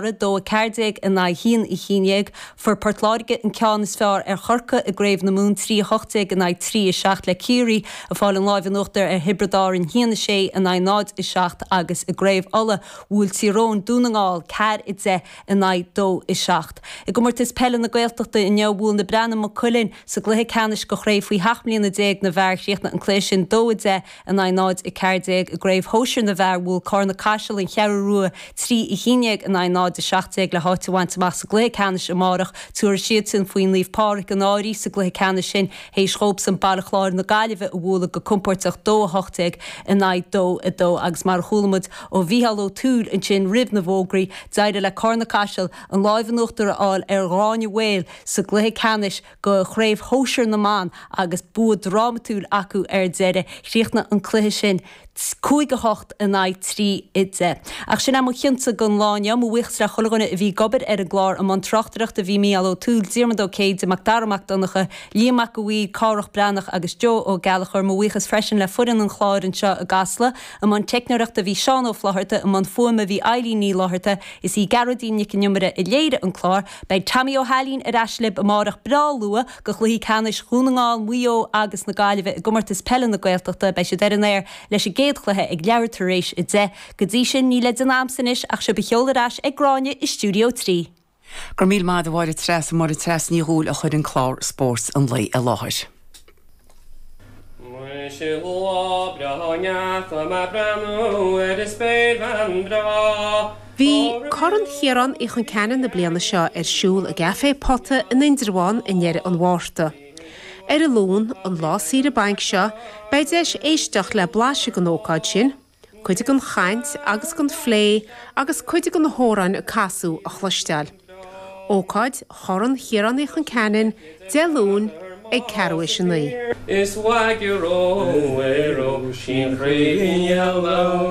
2, 14 in aghaidh 1, 11. Fuair Port Láirge an ceann is fearr ar Chorcaigh i gCraobh na Mumhan, 3, 18 in aghaidh 3, 7, le Ciarraí ag fáil an láimh in uachtar ar Thiobraid Árann, 1, 6 in aghaidh 0, 7, agus i gCraobh Uladh, bhuail Tír Eoghain Dún na nGall, 4, 10 in aghaidh 2, 7. I gcomórtas peile na Gaeltachta inniu, bhuail na Breathnaigh Maigh Cuilinn sa gcluiche ceannais do chraobh faoi sheacht mbliana déag na bhfear. Chríochnaigh an cluiche sin 2, 10 in aghaidh 0, 14. I gcraobh shóisir na bhfear, bhuail Cárna Caiseal an Cheathrú Rua 3, 11 in aghaidh 0, 17 le háit a bhaint amach sa gcluiche ceannais amárach. Tabharfaidh siadsan faoi Naomh Pádraig an Fhairche sa gcluiche ceannais sin théis dhóibhsan Baile Chláir na Gaillimhe a bhualadh go compóirteach 2, 18 in aghaidh 2, 2 agus mar a chuala muid ó Mhícheál Ó Tuathail ansin roimh na bhfógraí, d'éirigh le Cárna Caiseal an láimh in uachtar a fháil ar Ghráinne Mhaol sa gcluiche ceannais do Chraobh Shóisir na mBan agus bua drámatúil acu ar deireadh. Chríochnaigh an cluiche sin 5, 8 in aghaidh 3, 10. Ach sin é mo chionsa don lá inniu. Mo bhuíochas le chuile dhuine a bhí ag obair ar an gclár. I mbun tráchtaireachta bhí Mícheál Ó Tuathail, Diarmuid Ó Céide, Macdara Mac Donncha, Liam Mac a' Mhaoir, Cárthach Breathnach agus Joe Ó Gallchóir. Mo bhuíochas freisin le foireann an chláir anseo i gCasla. I mbun teicneoireachta bhí Seán Ó Flaithearta, i mbun fuaime bhí Eilín Ní Fhlaithearta, is í Gearóidín Nic an Iomaire a léirigh an clár. Beidh Tommy Ó hAilín ar ais libh amárach breá luath do chluichí ceannais Dhún na nGall, Mhaigh Eo agus na Gaillimhe i gcomórtas peile na Gaeltachta. Beidh siad ar an aer leis an gcéad chluiche ag leathuair tar éis 10. Go dtí sin, ní le déanamh a'msa anois ach sibh a sheoladh ar ais ag Gráinne i Stiúideo 3. Go raibh míle maith agat a Mháire Treasa, Máire Treasa Ní Dhubhghaill a chuir an clár Spóirt an Lae i láthair. Muise lá breá ndeacha mé breathnú ar an spéirbhean breá. Bhí Corn Chiaráin Uí Chon Ceanainn na bliana seo ar siúl i gCaifé Pota in Indreabhán i ndeireadh an Mhárta. Ar an Luan, an lá saoire bainc seo, beidh deis éisteacht le blaiseadh den ócáid sin, cuid den chaint agus den phlé agus cuid de na hamhráin a casadh a chloisteáil. Ócáid Chorn Chiaráin Uí Chon Ceanainn, Dé Luain ag ceathrú théis 9. Is uaidh ró, ró, sin chraoibhín yellow.